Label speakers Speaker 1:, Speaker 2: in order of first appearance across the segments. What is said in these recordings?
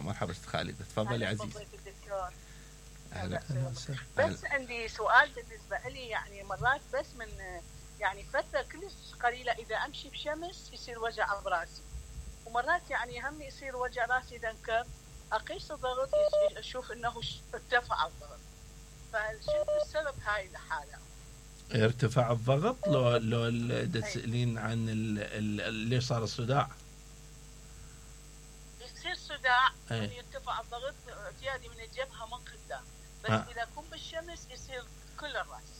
Speaker 1: مرحبا ست خالد، تفضلي عزيزي.
Speaker 2: أهلا. بس عندي سؤال بالنسبة لي، يعني مرات بس من يعني فترة كلش قليلة إذا أمشي بشمس يصير وجع براسي، ومرات يعني هم يصير وجع راسي دنكر، أقيس الضغط أشوف إنه ارتفع الضغط، فشنو السبب هاي الحالة؟
Speaker 1: ارتفاع الضغط لو تسألين عن اللي صار الصداع؟
Speaker 2: يصير صداع يرتفع الضغط زيادة من الجبهة من قدام، بس إذا أكون بالشمس يصير كل الرأس.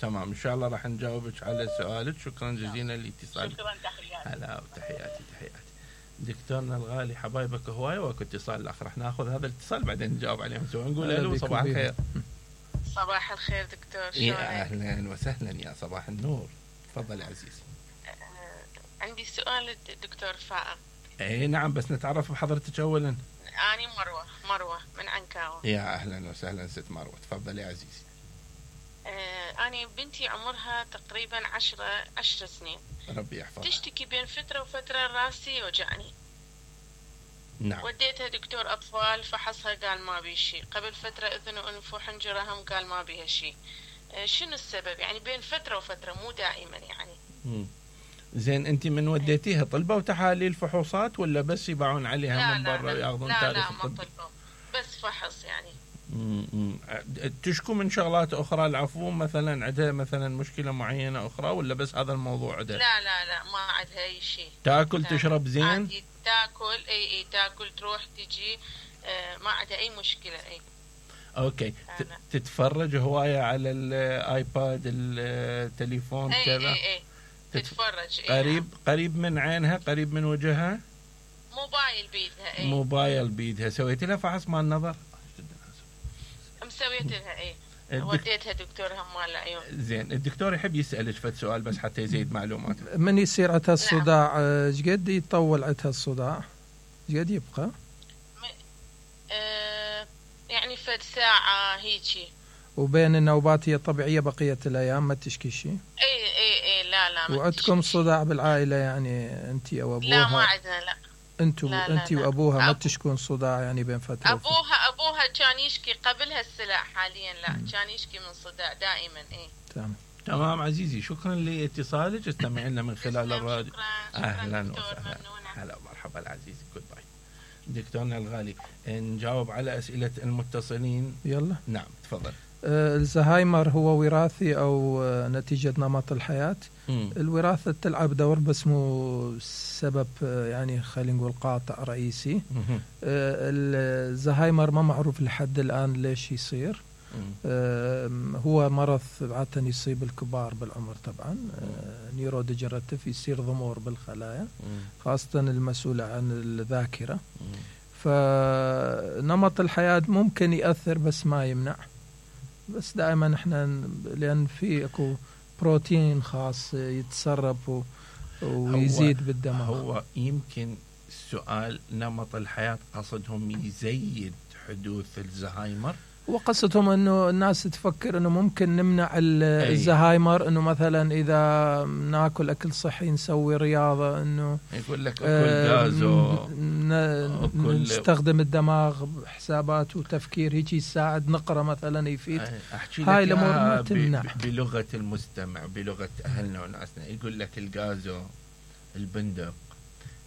Speaker 1: تمام إن شاء الله راح نجاوبك على سؤالك. شكرا جزيلا لاتصالك.
Speaker 2: شكرا، تحياتي.
Speaker 1: هلا وتحياتي. دكتورنا الغالي، حبايبك هواي، واكو اتصال الاخر راح ناخذ هذا الاتصال بعدين نجاوب عليهم سوا. نقول الو، صباح الخير.
Speaker 3: صباح الخير دكتور،
Speaker 1: يا اهلا وسهلا، يا صباح النور. تفضل يا عزيزي.
Speaker 3: عندي سؤال دكتور فائق.
Speaker 1: اي نعم، بس نتعرف بحضرتك اولا.
Speaker 3: اني مروه من عنكاوة.
Speaker 1: يا اهلا وسهلا ست مروه، تفضل يا عزيزي.
Speaker 3: أنا بنتي عمرها تقريبا 10 سنين.
Speaker 1: ربي يحفظها.
Speaker 3: تشتكي بين فترة وفترة راسي يوجعني.
Speaker 1: نعم.
Speaker 3: وديتها دكتور أطفال، فحصها قال ما بي شيء. قبل فترة أذن وأنف وحنجرة هم قال ما بيها شيء. شنو السبب؟ يعني بين فترة وفترة، مو دائما يعني.
Speaker 1: زين، أنت من وديتيها طلبوا تحاليل فحوصات ولا بس يباعون عليها من برا وياخذون تاريخ الطب؟
Speaker 3: لا، ما طلبوا، بس فحص يعني.
Speaker 1: تشكو من شغلات أخرى العفو، مثلا عندها مثلا مشكلة معينة أخرى ولا بس هذا الموضوع عندها؟
Speaker 3: لا ما عندها أي شيء.
Speaker 1: تاكل تشرب زين؟
Speaker 3: تاكل أي تاكل تروح تجي، ما عندها أي مشكلة. أي
Speaker 1: اوكي. تتفرج هواية على الايباد التليفون كذا؟
Speaker 3: اي تتفرج.
Speaker 1: قريب من عينها، قريب من وجهها؟
Speaker 3: موبايل بيدها.
Speaker 1: موبايل بيدها. سويت لها فحص مال النظر؟
Speaker 3: مسويت لها. وديتها دكتور مال العيون.
Speaker 1: زين، الدكتور يحب يسألك فد سؤال بس حتى يزيد معلومات.
Speaker 4: من يصير عندها الصداع ايش قد يطول عندها الصداع؟ ايش قد يبقى؟
Speaker 3: يعني فد ساعة هيجي.
Speaker 4: وبين النوبات هي طبيعية بقية الأيام ما تشكي شيء؟
Speaker 3: اي لا.
Speaker 4: وعندكم صداع بالعائلة يعني أنت أو أبوها؟
Speaker 3: لا ما عندنا، لا.
Speaker 4: أنت وأبوها ما تشكون صداع يعني بين فترة؟
Speaker 3: أبوها كان يشكي قبل هالسلع، حاليا لا. كان يشكي من صداع دائما.
Speaker 1: تمام عزيزي، شكرا لاتصالك. استمع لنا من خلال الراديو.
Speaker 3: أهلا وسهلا.
Speaker 1: هلا ومرحبا العزيزي. جود باي. دكتورنا الغالي، نجاوب على أسئلة المتصلين.
Speaker 4: يلا.
Speaker 1: نعم تفضل.
Speaker 4: الزهايمر هو وراثي أو نتيجة نمط الحياة؟ الوراثة تلعب دور بس مو سبب يعني خلينا نقول قاطع رئيسي. الزهايمر ما معروف لحد الآن ليش يصير. هو مرض عادة يصيب الكبار بالعمر طبعا. نيوروديجنراتيف، يصير ضمور بالخلايا خاصة المسؤولة عن الذاكرة. فنمط الحياة ممكن يأثر بس ما يمنع. بس دائما احنا لأن في اكو بروتين خاص يتسرب ويزيد بالدماغ.
Speaker 1: هو يمكن سؤال نمط الحياة قصدهم يزيد حدوث الزهايمر،
Speaker 4: وقصتهم انه الناس تفكر انه ممكن نمنع الزهايمر، انه مثلا اذا ناكل اكل صحي نسوي رياضه، انه
Speaker 1: يقول لك اكل غازو
Speaker 4: نستخدم الدماغ بحسابات وتفكير هيك يساعد، نقرا مثلا يفيد.
Speaker 1: هاي الامور ما تمنع. بلغه المستمع، بلغه اهلنا وناسنا، يقول لك الغازو، البندق،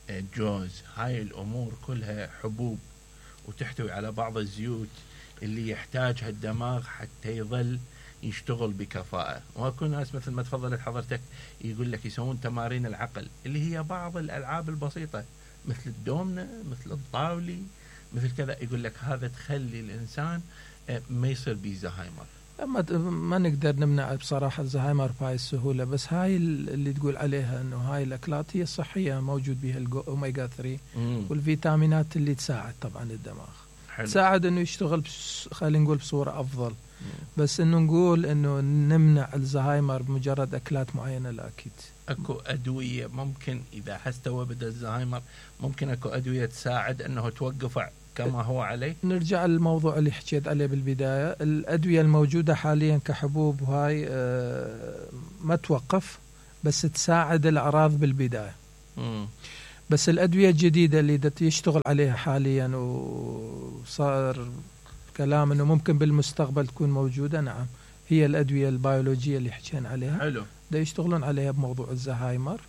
Speaker 1: الجوز، هاي الامور كلها حبوب وتحتوي على بعض الزيوت اللي يحتاجها الدماغ حتى يظل يشتغل بكفاءة. واكو ناس مثل ما تفضلت حضرتك يقول لك يسوون تمارين العقل اللي هي بعض الألعاب البسيطة مثل الدومنة، مثل الطاولي، مثل كذا، يقول لك هذا تخلي الإنسان ما يصير به زهايمر.
Speaker 4: ما نقدر نمنع بصراحة الزهايمر بهاي السهولة، بس هاي اللي تقول عليها انه هاي الأكلات هي صحية، موجود بها الأوميجا 3 والفيتامينات اللي تساعد طبعا الدماغ. حلو. تساعد انه يشتغل خلينا نقول بصورة افضل. بس انه نقول انه نمنع الزهايمر بمجرد اكلات معينة لا اكيد.
Speaker 1: اكو ادوية ممكن اذا حستوى بدا الزهايمر، ممكن اكو ادوية تساعد انه توقف كما هو عليه؟
Speaker 4: نرجع للموضوع اللي حكيت عليه بالبداية. الادوية الموجودة حاليا كحبوب وهاي ما توقف، بس تساعد الاعراض بالبداية. بس الأدوية الجديدة اللي يشتغل عليها حاليا وصار كلام أنه ممكن بالمستقبل تكون موجودة، نعم، هي الأدوية البيولوجية اللي حكينا عليها.
Speaker 1: حلو.
Speaker 4: دا يشتغلون عليها بموضوع الزهايمر،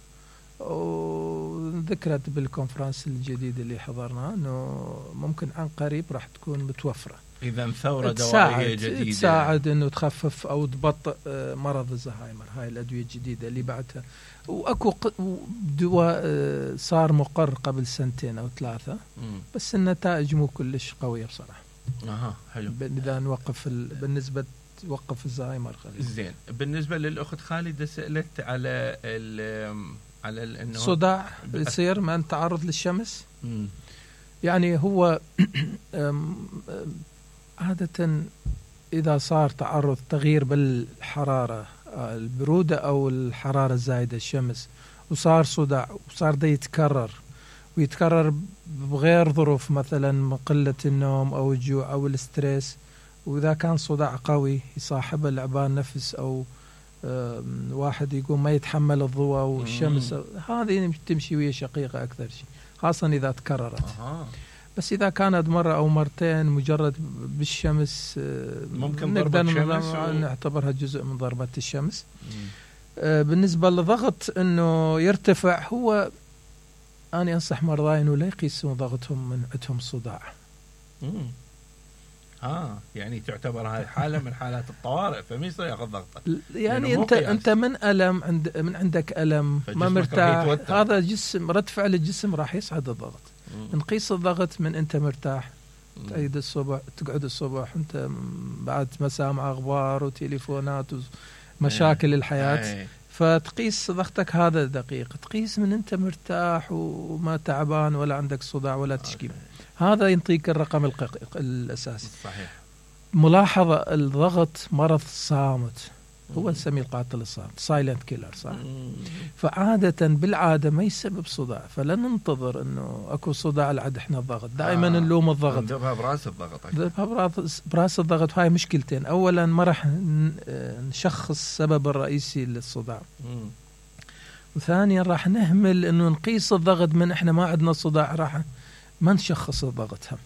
Speaker 4: وذكرت بالكونفرنس الجديد اللي حضرناه أنه ممكن عن قريب راح تكون متوفرة.
Speaker 1: إذا ثورة دوائية جديدة
Speaker 4: تساعد أنه تخفف أو تبطئ مرض الزهايمر. هاي الأدوية الجديدة اللي بعدها، وأكو دواء صار مقر قبل 2 أو 3 بس النتائج مو كلش قوية بصراحة.
Speaker 1: حلو.
Speaker 4: إذا نوقف بالنسبة توقف الزهايمر خليل.
Speaker 1: زين. بالنسبة للأخت خالدة سألت على إنه
Speaker 4: صداع يصير من تعرض للشمس. يعني هو عادة إذا صار تعرض تغيير بالحرارة، البرودة أو الحرارة الزايدة، الشمس، وصار صداع وصار ده يتكرر بغير ظروف، مثلا قلة النوم أو الجوع أو الاسترس، وإذا كان صداع قوي يصاحبه لعبان نفس أو واحد يقوم ما يتحمل الضوء والشمس، هذه تمشي ويا شقيقة أكثر شيء، خاصة إذا تكررت. بس إذا كانت مرة أو مرتين مجرد بالشمس،
Speaker 1: ممكن نقدر
Speaker 4: نعتبرها جزء من ضربة الشمس. بالنسبة للضغط أنه يرتفع، هو أنا أنصح مرضاي أنه لا يقيسون ضغطهم من عندهم صداع.
Speaker 1: يعني تعتبر هذه حالة من حالات الطوارئ، فما يصير ياخذ ضغطه.
Speaker 4: يعني أنت من ألم من عندك ألم ما مرتاح، هذا جسم رد فعل الجسم راح يصعد الضغط. نقيس الضغط من أنت مرتاح، تعيد الصبح، تقعد الصبح أنت بعد مسامع أخبار وتليفونات ومشاكل الحياة، فتقيس ضغطك هذا دقيق. تقيس من أنت مرتاح وما تعبان ولا عندك صداع ولا تشكي، هذا ينطيك الرقم الأساسي.
Speaker 1: صحيح.
Speaker 4: ملاحظة الضغط مرض صامت، هو نسميه القاتل الصامت، سايلنت كيلر، صح؟ فعادة بالعادة ما يسبب صداع، فلا ننتظر انه اكو صداع لعد احنا الضغط، دائما نلوم الضغط،
Speaker 1: ندبها براس الضغط.
Speaker 4: ندبها براس الضغط. هاي مشكلتين، اولا ما راح نشخص السبب الرئيسي للصداع، وثانيا راح نهمل انه نقيس الضغط من احنا ما عندنا صداع، راح ما نشخص الضغط هم.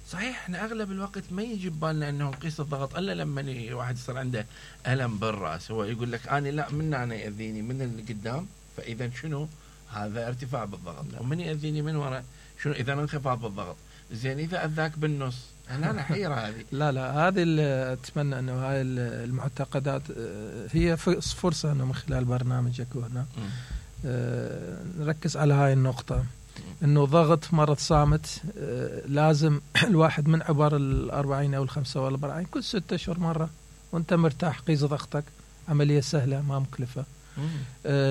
Speaker 1: صحيح. احنا اغلب الوقت ما يجي ببالنا انه نقيس الضغط الا لما واحد يصير عنده الم بالراس، هو يقول لك انا لا، من انا ياذيني من اللي قدام، فاذا شنو هذا ارتفاع بالضغط، ومن ياذيني من ورا شنو اذا انخفاض بالضغط. زين اذا اذاك بالنص، انا حيره هذه.
Speaker 4: لا هذه اتمنى انه هاي المعتقدات هي فرصه انه من خلال برنامجك هنا نركز على هاي النقطه، انه ضغط مرض صامت. لازم الواحد من عبر 40 او 45 كل 6 أشهر مرة وانت مرتاح قيس ضغطك، عملية سهلة ما مكلفة.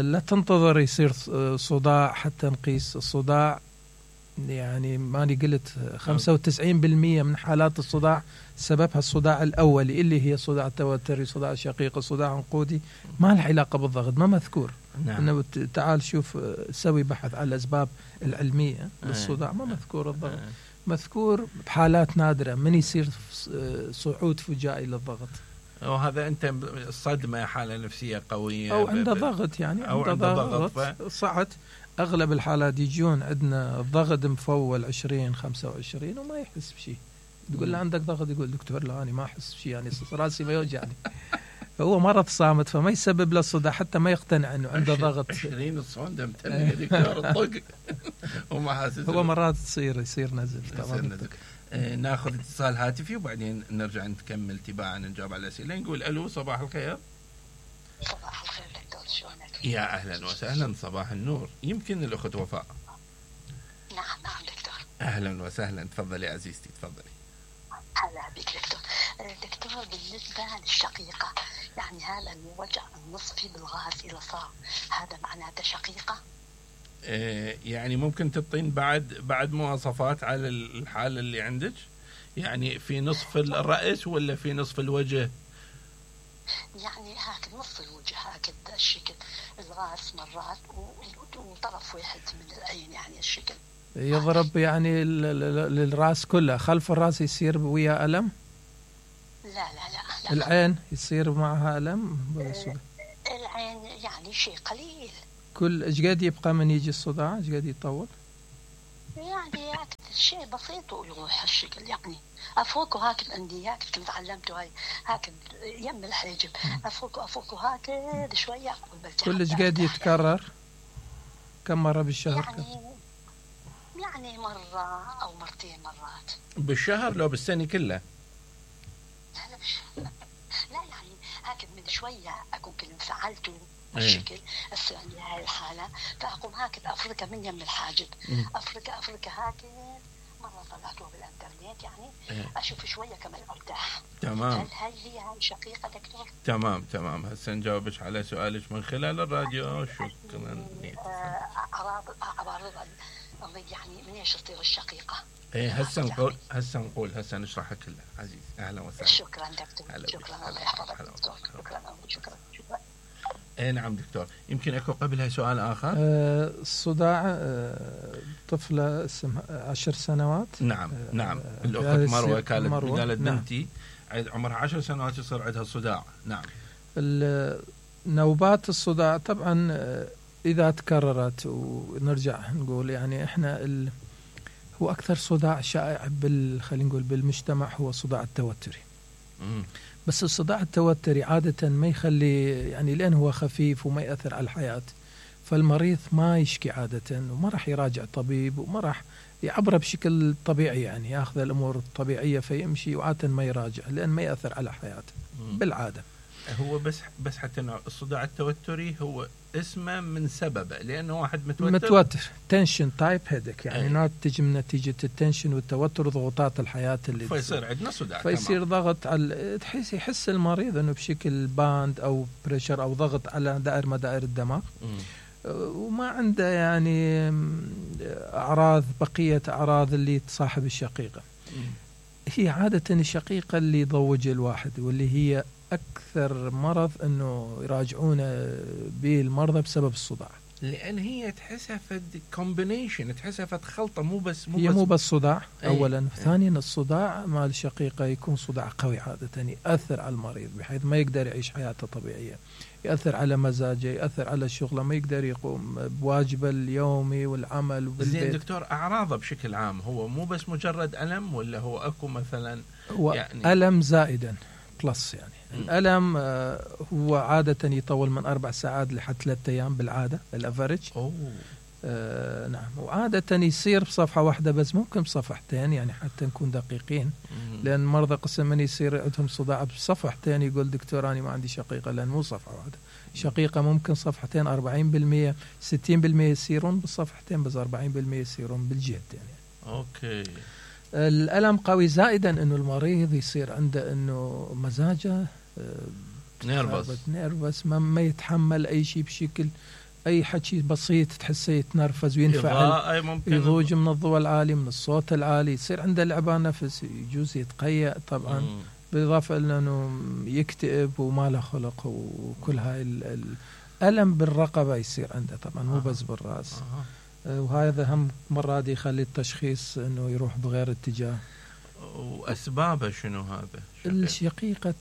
Speaker 4: لا تنتظر يصير صداع حتى نقيس الصداع. يعني ماني قلت 95% من حالات الصداع سببها الصداع الأولي اللي هي صداع توتري، صداع شقيقي، صداع عنقودي، ما له علاقة بالضغط، ما مذكور. إنه تعال شوف سوي بحث على الأسباب العلمية للصداع، ما مذكور الضغط، مذكور بحالات نادرة من يصير صعود فجائي للضغط.
Speaker 1: وهذا أنت صدمة، حالة نفسية قوية،
Speaker 4: أو عنده ضغط، يعني
Speaker 1: أو عنده ضغط
Speaker 4: صعد. أغلب الحالات يجون عندنا الضغط مفول 20-25 وما يحس بشيء. تقول له عندك ضغط، يقول دكتور لا أنا ما أحس بشيء، يعني راسي ما يوجعني. هو مرض صامت، فما يسبب له صداع حتى ما يقتنع انه عنده ضغط.
Speaker 1: 20 الصوندة متلقى دكتور الطق وما حاسس.
Speaker 4: هو مرات يصير نزل.
Speaker 1: ناخذ اتصال هاتفي وبعدين نرجع نكمل تباعا نجاوب على الأسئلة. نقول ألو، صباح الخير.
Speaker 5: صباح الخير دكتور، شلونك؟
Speaker 1: يا أهلا وسهلا، صباح النور. يمكن الأخت وفاء.
Speaker 5: نعم دكتور.
Speaker 1: أهلا وسهلا، تفضلي عزيزتي، تفضلي.
Speaker 5: هلا بك دكتور. دكتور بالنسبة للشقيقة، يعني هذا الوجع النصفي بالغاز إذا صار هذا معناته شقيقة؟
Speaker 1: يعني ممكن تعطين بعد مواصفات على الحالة اللي عندك؟ يعني في نصف الرأس ولا في نصف الوجه؟
Speaker 5: يعني هكذا نصف الوجه، هكذا الشكل، الراس مرات وطرف واحد من العين، يعني الشكل
Speaker 4: يضرب يعني للراس كله، خلف الراس يصير ويا ألم؟
Speaker 5: لا.
Speaker 4: العين يصير معها ألم؟
Speaker 5: العين يعني شيء قليل.
Speaker 4: كل ايش قد يبقى من يجي الصداع؟ ايش قد يطول؟
Speaker 5: يعني شيء بسيط ويروح الشكل يعني افوق هاك عندي هاك كنت علمته هاي هاك يم الحاجب افوق هاك شويه
Speaker 4: كل ايش قد يتكرر؟ كم مره بالشهر؟
Speaker 5: يعني مره او مرتين مرات
Speaker 1: بالشهر لو بالسنه كلها؟
Speaker 5: لا يعني هاك من شويه اكون كل انفعلت الشكل هسه عندي هاي الحاله فاقوم هاك افركه من يم الحاجب افركه هاك مره طلعته بالانترنت يعني اشوف شويه كمان ارتاح.
Speaker 1: تمام.
Speaker 5: هل هي شقيقه دكتور؟
Speaker 1: تمام هسه نجاوبش على سؤالك من خلال الراديو. شكرا.
Speaker 5: اعراض يعني من ايش تصير الشقيقه؟
Speaker 1: هسه نشرحها كلها عزيز. اهلا وسهلا.
Speaker 5: شكرا دكتور. شكرا الله يحفظك دكتور. شكرا.
Speaker 1: نعم دكتور. يمكن اكو قبلها سؤال اخر.
Speaker 4: الصداع طفله اسمها 10 سنوات.
Speaker 1: نعم الاخت مروه قالت بنتي عمرها 10 سنوات يصير عندها صداع. نعم.
Speaker 4: نوبات الصداع طبعا اذا تكررت ونرجع نقول يعني احنا هو اكثر صداع شائع خلينا نقول بالمجتمع هو الصداع التوتري. بس الصداع التوتري عادة ما يخلي يعني لأن هو خفيف وما يأثر على الحياة، فالمريض ما يشكي عادة وما راح يراجع طبيب وما راح يعبره بشكل طبيعي، يعني ياخذ الأمور الطبيعية فيمشي وعادة ما يراجع لأن ما يأثر على حياته بالعادة.
Speaker 1: هو بس حتى الصداع التوتري هو اسمه من سببه لأنه واحد متوتر تنشن
Speaker 4: تايب هيدك يعني ناتج من نتيجة التنشن والتوتر وضغوطات الحياة اللي
Speaker 1: فيصير عندنا صداع،
Speaker 4: فيصير ضغط على يحس المريض انه بشكل باند او بريشر او ضغط على مدائر الدماغ وما عنده يعني بقية أعراض اللي تصاحب الشقيقة. هي عادة الشقيقة اللي يضوج الواحد واللي هي أكثر مرض أنه يراجعونه به المرضى بسبب الصداع،
Speaker 1: لأن هي تحسها فد كومبينيشن، تحسها فد خلطة مو بس
Speaker 4: صداع. أولا ثانيا الصداع مع الشقيقة يكون صداع قوي عادة يأثر على المريض بحيث ما يقدر يعيش حياته طبيعية، يأثر على مزاجه، يأثر على شغله، ما يقدر يقوم بواجبه اليومي والعمل وبالبيت.
Speaker 1: زين دكتور، أعراضه بشكل عام هو مو بس مجرد ألم ولا هو أكو مثلا
Speaker 4: يعني ألم زائدا بلس يعني الألم هو عادة يطول من 4 ساعات لحد 3 أيام بالعادة الأفريج. نعم، وعادة يصير بصفحة واحدة بس ممكن بصفحتين يعني حتى نكون دقيقين، لأن مرضى قسم من يصير عندهم صداع بصفحتين يقول دكتور أنا ما عندي شقيقة، لأن مو صفحة واحدة، شقيقة ممكن صفحتين 40% 60% يصيرون بالصفحتين بس 40% يصيرون بالجهتين يعني.
Speaker 1: أوكي.
Speaker 4: الألم قوي زائدا انه المريض يصير عنده انه مزاجه نيرفس ما يتحمل اي شيء بشكل اي حكي بسيط تحسه يتنرفز وينفعل، يضوج من الضوء العالي من الصوت العالي، يصير عنده لعبان نفس، يجوز يتقيأ طبعا، بالاضافه الى انه يكتئب وما له خلق وكل هاي الألم بالرقبه يصير عنده طبعا مو بس بالراس. وهذا هم مرات يخلي التشخيص انه يروح بغير اتجاه.
Speaker 1: واسبابه شنو هذا؟
Speaker 4: الشقيقة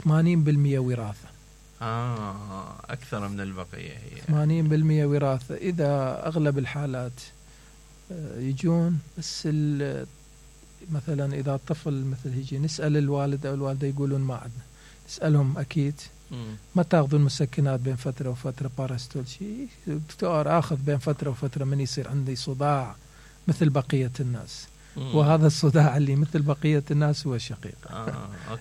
Speaker 4: 80% وراثة.
Speaker 1: اكثر من البقية هي
Speaker 4: 80% وراثة. اذا اغلب الحالات يجون بس مثلا اذا الطفل مثل يجي نسأل الوالد او الوالدة يقولون ما عندنا، نسألهم اكيد ما تاخذون مسكنات بين فترة وفترة باراستول شيء دكتور اخذ بين فترة وفترة من يصير عندي صداع مثل بقية الناس. وهذا الصداع اللي مثل بقية الناس هو الشقيقة.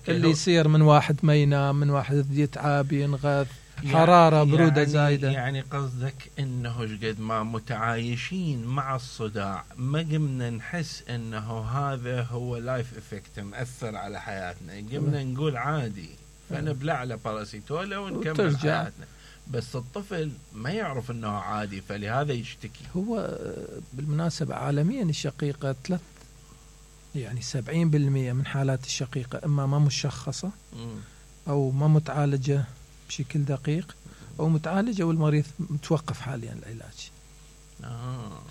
Speaker 4: اللي يصير من واحد ما ينام، من واحد يتعب ينغث، حرارة برودة زايدة.
Speaker 1: يعني قصدك انه قد ما متعايشين مع الصداع ما قمنا نحس انه هذا هو لايف افكت مأثر على حياتنا، قمنا نقول عادي فنبلع على باراسيتولا ونكمل حياتنا، بس الطفل ما يعرف انه عادي فلهذا يشتكي.
Speaker 4: هو بالمناسبة عالميا الشقيقة يعني 70% من حالات الشقيقة اما ما مشخصة او ما متعالجة بشكل دقيق او متعالجة والمريض متوقف حاليا العلاج.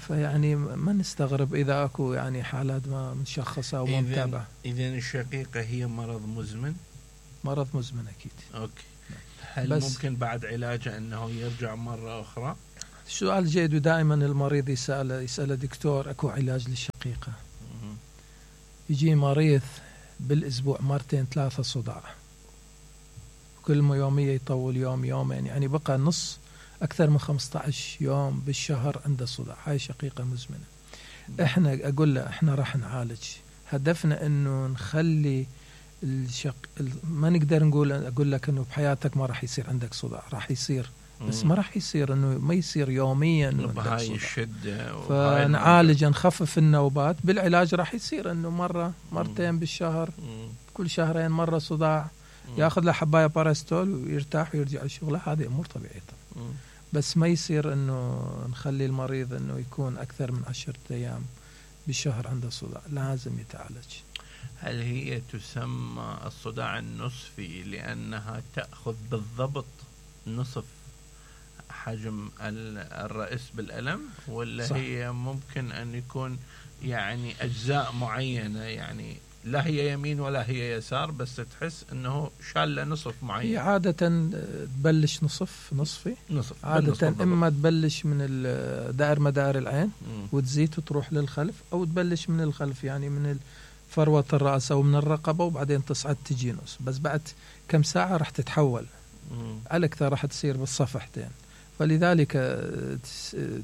Speaker 4: فيعني ما نستغرب اذا اكو يعني حالات ما مشخصة او متابعة.
Speaker 1: اذن الشقيقة هي مرض مزمن؟
Speaker 4: مرض مزمن اكيد.
Speaker 1: اوكي. هل ممكن بعد علاجه أنه يرجع مرة أخرى؟
Speaker 4: سؤال جيد، ودائما المريض يسأل دكتور أكو علاج للشقيقة. يجي مريض بالأسبوع 2-3 صداع، كل يومية يطول يوم يومين، يعني بقى نص أكثر من 15 يوم بالشهر عنده صداع. هاي شقيقة مزمنة. إحنا أقول له إحنا راح نعالج، هدفنا إنه نخلي ما نقدر أقول لك إنه بحياتك ما راح يصير عندك صداع، راح يصير، بس ما راح يصير إنه ما يصير يوميا
Speaker 1: بهاي الشدة.
Speaker 4: فنعالج نخفف النوبات بالعلاج. راح يصير إنه مرة مرتين بالشهر، كل شهرين مرة صداع، ياخذ له حباية باراستول ويرتاح ويرجع لشغله. هذه أمور طبيعية طبعا. بس ما يصير إنه نخلي المريض إنه يكون أكثر من 10 أيام بالشهر عنده صداع، لازم يتعالج.
Speaker 1: هل هي تسمى الصداع النصفي لأنها تأخذ بالضبط نصف حجم الرأس بالألم، ولا صح. هي ممكن أن يكون يعني أجزاء معينة، يعني لا هي يمين ولا هي يسار، بس تحس أنه شالة نصف معين؟
Speaker 4: هي عادة تبلش نصفي عادة، إما تبلش من مدار العين وتزيد وتروح للخلف، أو تبلش من الخلف يعني من فروة الرأس أو من الرقبة وبعدين تصعد تجي نص، بس بعد كم ساعة راح تتحول على أكثر، راح تصير بالصفحتين، فلذلك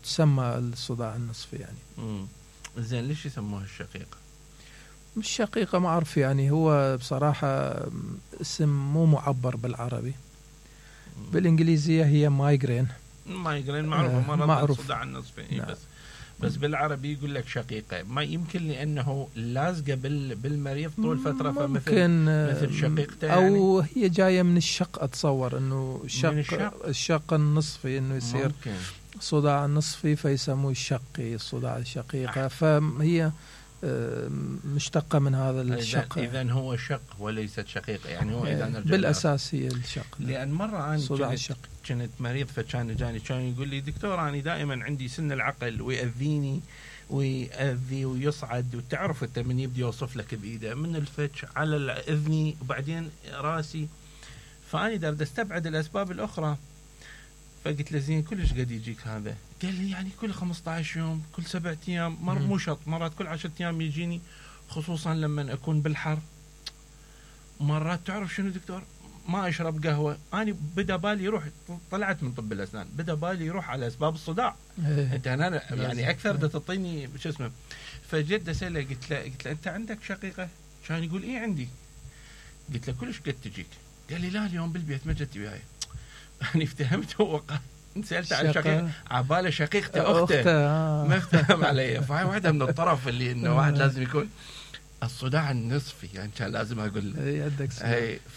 Speaker 4: تسمى الصداع النصفي يعني.
Speaker 1: زين ليش يسموها الشقيقة؟
Speaker 4: مش شقيقة، ما أعرف يعني، هو بصراحة اسم مو معبر بالعربي. بالإنجليزية هي مايغرين معروف الصداع النصفي.
Speaker 1: نعم. بس بالعربي يقول لك شقيقة، ما يمكن لأنه لازقة بالمريض طول فترة، فمثل شقيقته
Speaker 4: أو يعني. هي جاية من الشق، أتصور أنه الشق النصفي، أنه يصير ممكن صداع نصفي فيسموه الشقي، الصداع الشقيقة. فهي مشتقة من هذا الشق.
Speaker 1: إذن هو شق وليست شقيقة، يعني هو إذا نرجع
Speaker 4: بالأساس هي الشق.
Speaker 1: لأن مرة أنا كنت مريض، فكان جاني كان يقول لي دكتور أنا دائما عندي سن العقل ويأذيني ويأذي ويصعد، وتعرف أنت من يبدي يوصف لك بإيده من الفتش على الأذني وبعدين راسي، فأنا دارد استبعد الأسباب الأخرى. فقلت له زين كلش قد يجيك هذا؟ قال لي يعني كل 15 يوم، كل 7 أيام، مو شرط، مرات كل 10 أيام يجيني، خصوصا لما أكون بالحر. مرات تعرف شنو دكتور، ما أشرب قهوة، أنا بدا بالي يروح، طلعت من طب الأسنان، بدا بالي يروح على أسباب الصداع. أنت أنا يعني أكثر دا تعطيني شو اسمه. فجد أسأله قلت له أنت عندك شقيقة؟ كان يقول إيه عندي. قلت له كلش قد تجيك؟ قال لي لا اليوم بالبيت ما جت وياي. أنا افتهمت، هو سألت عن شقيقة عبالة شقيقته أخته ما افتهم علي. فهي واحدة من الطرف اللي إنه واحد لازم يكون الصداع النصفي، يعني كان لازم أقول
Speaker 4: عندك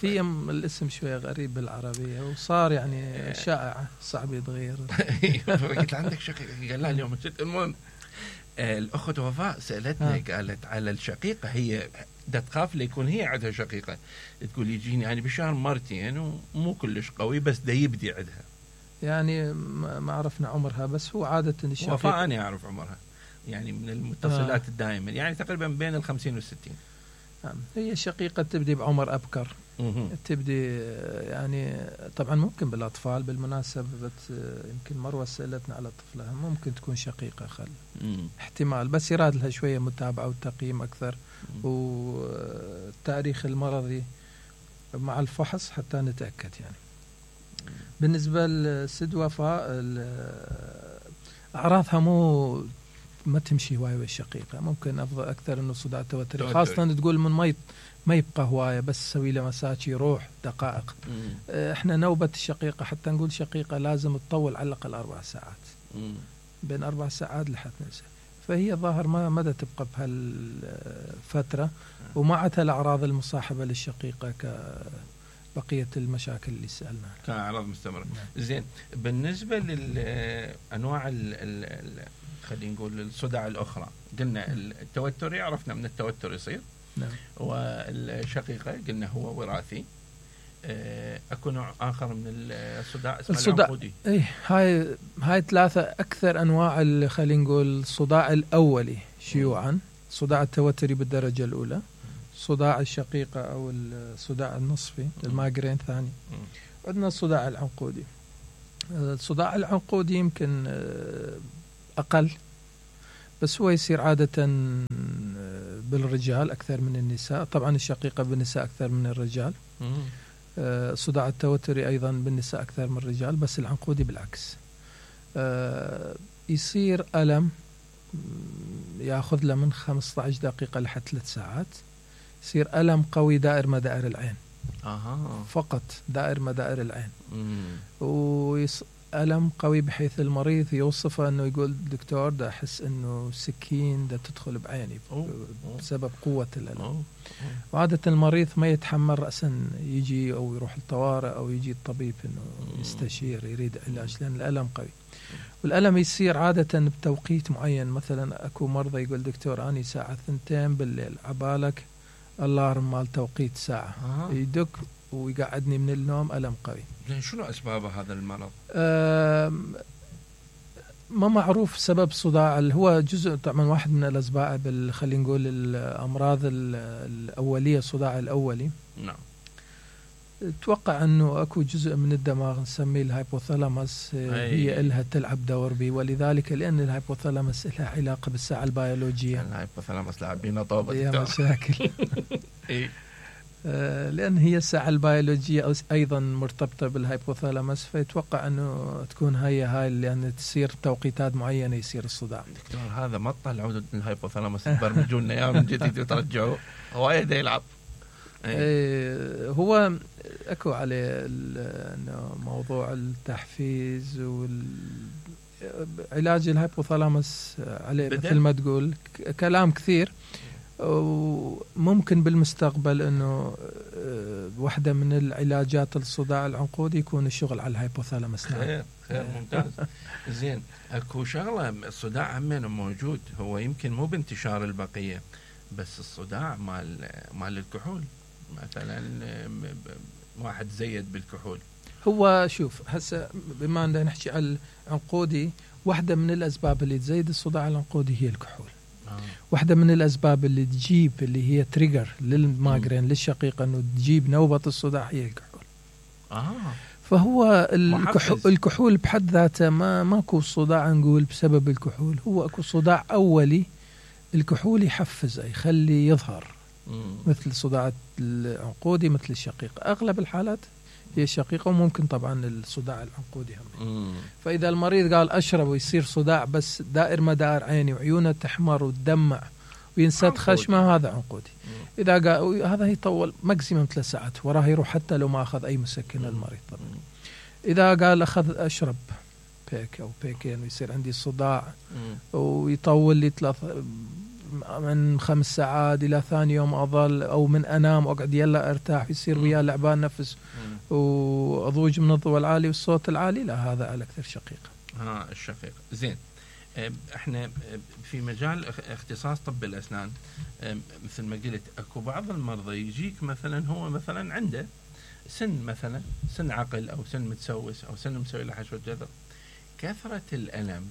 Speaker 4: في الاسم شوية غريب بالعربية وصار يعني شائع، صعب يتغير.
Speaker 1: قلت عندك شقيقة؟ قال لا اليوم جت. المهم الأخت وفاء سألتني قالت على الشقيقة، هي دا تخاف ليكون هي عندها شقيقة، تقول يجيني يعني بالشهر مرتين ومو كلش قوي، بس دا يبدي عندها.
Speaker 4: يعني ما عرفنا عمرها، بس هو عادة الشقيقة
Speaker 1: وفاء أنا أعرف عمرها، يعني من المتصلات الدائمة، يعني تقريبا بين 50 و60.
Speaker 4: هي الشقيقة تبدي بعمر أبكر، تبدي يعني طبعا ممكن بالأطفال. بالمناسبة يمكن مروة سألتنا على طفلها، ممكن تكون شقيقة خل احتمال، بس يراد لها شوية متابعة وتقييم أكثر والتاريخ المرضي مع الفحص حتى نتأكد يعني. بالنسبة لسد وفاء أعراضها ما تمشي هواية بالشقيقة، ممكن أفضل أكثر إنه صداع توتري، خاصة تقول من ما يبقى هواية، بس سوي له مساج يروح دقائق. إحنا نوبة الشقيقة حتى نقول شقيقة لازم تطول على الأقل 4 ساعات، بين 4 ساعات لحد ننسى. فهي ظاهر ما مدى تبقى بهالفترة، وما عندها الأعراض المصاحبة للشقيقة كبقية المشاكل اللي سألنا
Speaker 1: كأعراض مستمرة. زين بالنسبة للأنواع خلينا نقول الصداع الأخرى، قلنا التوتر عرفنا من التوتر يصير،
Speaker 4: نعم.
Speaker 1: والشقيقة قلنا هو وراثي. أكو نوع آخر من الصداع اسمه العنقودي.
Speaker 4: إيه هاي 3 أكثر أنواع خلينا نقول الصداع الأولي شيوعا، صداع التوتري بالدرجة الأولى، صداع الشقيقة أو الصداع النصفي المايغرين ثاني، عندنا الصداع العنقودي. الصداع العنقودي يمكن أقل، بس هو يصير عادة بالرجال أكثر من النساء. طبعا الشقيقة بالنساء أكثر من الرجال. الصداع التوتري أيضا بالنساء أكثر من الرجال، بس العنقودي بالعكس. يصير ألم يأخذ له من 15 دقيقة لحد 3 ساعات. يصير ألم قوي دائر مدائر العين. فقط دائر مدائر العين. ألم قوي بحيث المريض يوصفه أنه يقول دكتور دا أحس أنه سكين دا تدخل بعيني بسبب قوة الألم. وعادة المريض ما يتحمل رأسا يجي أو يروح الطوارئ أو يجي الطبيب أنه يستشير يريد علاج، لأن الألم قوي. والألم يصير عادة بتوقيت معين. مثلا أكو مرضى يقول دكتور أني ساعة 2 بالليل عبالك اللارم مال توقيت ساعة يدق ويقعدني من النوم، ألم قوي.
Speaker 1: شنو أسباب هذا المرض؟
Speaker 4: ما معروف سبب صداع. هو جزء طبعا واحد من الأسباب خلينا نقول الأمراض الأولية، الصداع الأولي.
Speaker 1: نعم.
Speaker 4: اتوقع انه اكو جزء من الدماغ نسميه الهايبوثالاموس هي لها تلعب دور به، ولذلك لان الهايبوثالاموس لها علاقه بالساعه البيولوجيه.
Speaker 1: الهايبوثالاموس لاعبين طوبه
Speaker 4: يا مشاكل. لان هي الساعه البيولوجيه ايضا مرتبطه بالهايبوثالاموس، فيتوقع انه تكون هاي لان تصير توقيتات معينه يصير الصداع.
Speaker 1: دكتور هذا ما طلعوا الهايبوثالاموس تبرمجوا لنا اياه من جديد وترجعوه هوايه يلعب.
Speaker 4: هو اكو عليه انه موضوع التحفيز والعلاج الهايبوثالاموس عليه مثل ما تقول كلام كثير، وممكن بالمستقبل انه واحدة من العلاجات الصداع العنقودي يكون الشغل على الهايبوثالاموس.
Speaker 1: خير ممتاز. زين اكو شغله الصداع همين موجود، هو يمكن مو بانتشار البقيه، بس الصداع مال الكحول مثلا، واحد زيد بالكحول.
Speaker 4: هو شوف هسه بما أننا نحكي على العنقودي، واحدة من الأسباب اللي تزيد الصداع العنقودي هي الكحول. واحدة من الأسباب اللي تجيب اللي هي تريجر للمايجرين للشقيقة أنه تجيب نوبة الصداع هي الكحول. فهو الكحول بحد ذاته ماكو صداع نقول بسبب الكحول، هو اكو صداع أولي الكحول يحفزه يخلي يظهر مثل صداع العنقودي مثل الشقيقة. أغلب الحالات هي الشقيقة، وممكن طبعا الصداع العنقودي هم. فإذا المريض قال أشرب ويصير صداع بس دائر مدار عيني وعيونه تحمر وتدمع وينسد خشمه، هذا عنقودي. إذا قال هذا يطول ماكسيمم 3 ساعات وراه يروح حتى لو ما أخذ أي مسكن المريض طبعا. إذا قال أشرب بيك أو بيكين ويصير عندي صداع ويطول لي من 5 ساعات إلى ثاني يوم أظل، أو من أنام وأقعد يلا أرتاح يصير وياه لعبان نفس وأضوج من الضوء العالي والصوت العالي، لا هذا على أكثر شقيقة.
Speaker 1: الشقيقة. زين احنا في مجال اختصاص طب الأسنان مثل ما قلت اكو بعض المرضى يجيك مثلا هو مثلا عنده سن مثلا سن عقل او سن متسوس او سن مسوي له حشوة جذر، كثرة الألم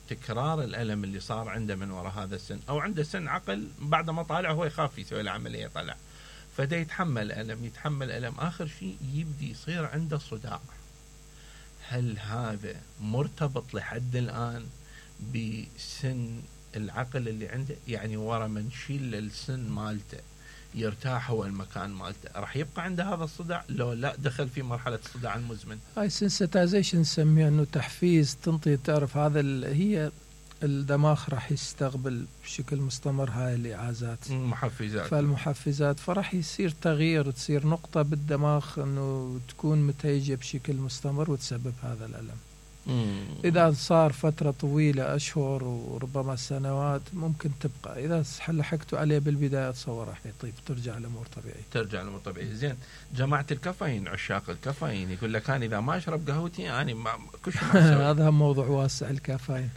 Speaker 1: تكرار الألم اللي صار عنده من وراء هذا السن، أو عنده سن عقل بعد ما طالع هو يخاف يسوي له عملية طلع، فده يتحمل ألم آخر شيء يبدي يصير عنده صداع. هل هذا مرتبط لحد الآن بسن العقل اللي عنده؟ يعني ورا ما نشيل السن مالته يرتاح هو المكان مالته راح يبقى عنده هذا الصداع؟ لو لا دخل في مرحلة الصداع المزمن.
Speaker 4: هاي سنسيتايزيشن نسميها، انه تحفيز تنطي تعرف هذا هي الدماغ راح يستقبل بشكل مستمر هاي الإعازات
Speaker 1: محفزات،
Speaker 4: فالمحفزات فراح يصير تغيير، تصير نقطة بالدماغ انه تكون متهيجة بشكل مستمر وتسبب هذا الألم. إذا صار فترة طويلة أشهر وربما سنوات ممكن تبقى. إذا لحقتوا عليه بالبداية أتصور راح يطيب ترجع الأمور طبيعية.
Speaker 1: زين جماعة الكافيين، عشاق الكافيين يقول لك أنا إذا ما أشرب قهوتي أنا كل شيء
Speaker 4: هذا موضوع واسع الكافيين.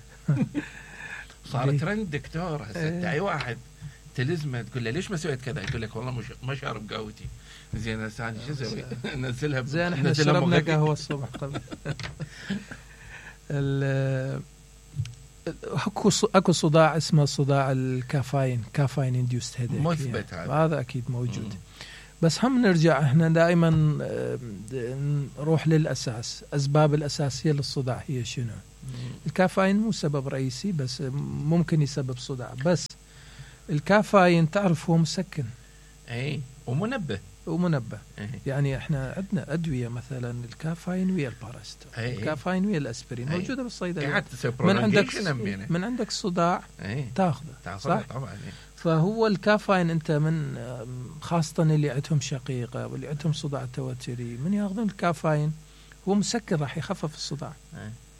Speaker 1: صار ترند دكتور هسه أي واحد تلزمه تقول له ليش ما سويت كذا، يقول لك والله ما شارب قهوتي. زين هسه شو اسوي؟ نزلها
Speaker 4: زين احنا شربنا قهوة الصبح طبعا. اكو صداع اسمه صداع الكافيين، كافيين انديوست هيديك،
Speaker 1: مثبت
Speaker 4: هذا اكيد موجود. بس هم نرجع احنا دائما نروح للأساس. أسباب الأساسية للصداع هي شنو؟ الكافيين مو سبب رئيسي بس ممكن يسبب صداع. بس الكافيين تعرف هو مسكن
Speaker 1: اي ومنبه
Speaker 4: يعني احنا عندنا أدوية مثلا الكافيين ويا الباراستول، الكافيين ويا الأسبرين موجودة بالصيدلية. من عندك صداع تاخذه صح؟
Speaker 1: طبعا.
Speaker 4: فهو الكافيين انت من خاصة اللي عندهم شقيقة واللي عندهم صداع توتري من ياخذون الكافيين هو مسكن راح يخفف الصداع